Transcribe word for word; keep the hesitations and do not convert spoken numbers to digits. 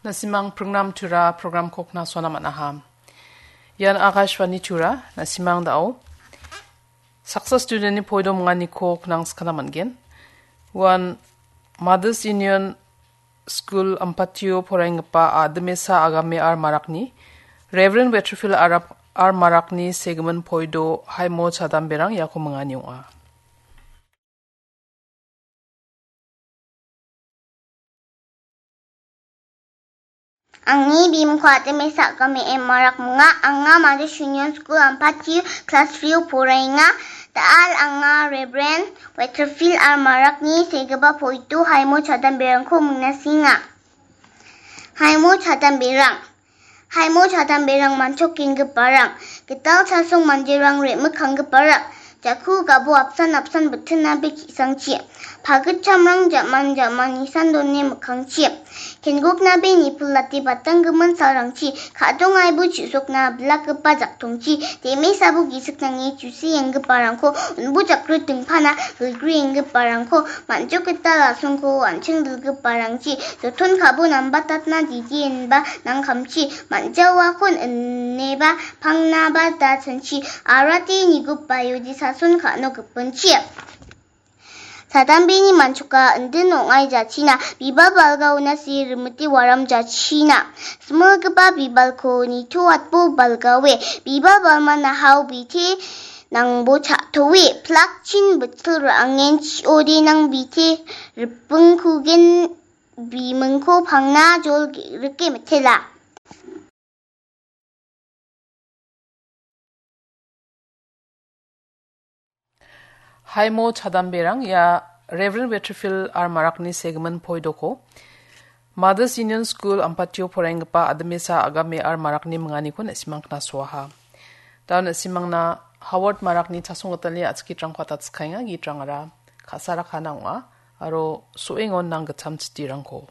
Na·simang pringnam tura programko knasona man·aha. Ian Akashvani tura, na·simang dao. Saksa studentni poido minganiko knangskana man·gen. Uan Mothers Union School Ampatio poraienggipa Adimesa Agame R Marakni, Reverend Weatherfield Arap R Marakni segimin poido Haimo Chadamberang iako mingani ong·a. Angni bimingko Adimesa Agame M Marak minga, anga Mothers Union School Ampati class three-o poraenga. Da·al anga Reverend Weatherfield R Marakni segipa poido Haimo Chadamberangko mingnasenga. Haimo Chadamberang. Haimo Chadamberang manchokenggiparang. Gital chasong manderang re·mikkanggiparang. Jaku gabo apsan apsan bitinnabe ki·sangchi. Pagitchamrang jaman jaman nisan done mikkangchi. Kengkoknabe nipilate batanggimin salrangchi. Ka·dong aibo chu·sokna bilakgipa jaktongchi. Demesabo gisik nange chusienggiparangko unbu jakri dingpana gilgrienggiparangko man·jok gital asongko an·ching dilgiparangchi. Joton kabo nambatatna didi inba nangkamchi. Man·jaoakon ineba pangnaba da chanchi. Arate nigupaio disason ka·no gipinchi. Chadambeni manchoka indin ong·ai jachina, bibal balgaona se rimite waram jachina. Similgipa bibalko nitoatbo balgaoe, bibal balmana hao bite nangbo cha·toe, plakchin bitil ra·angen chi·ode nang bite ripingkugen bimingko pangna jol ge-, rike mitela. Haimo Chadamberang ia Reverend Weatherfield R Marakni segimin poidoko Mothers Union School Ampatio poraienggipa Adimesa Agame R Marakni minganiko na·simang knasoaha. Da na·simangna Howard Marakni chasong gitalni a·chik gitrangko atatskaenga, gitrangara ka·sarakana ong·a, aro so·engon nang gitcham chitirangko.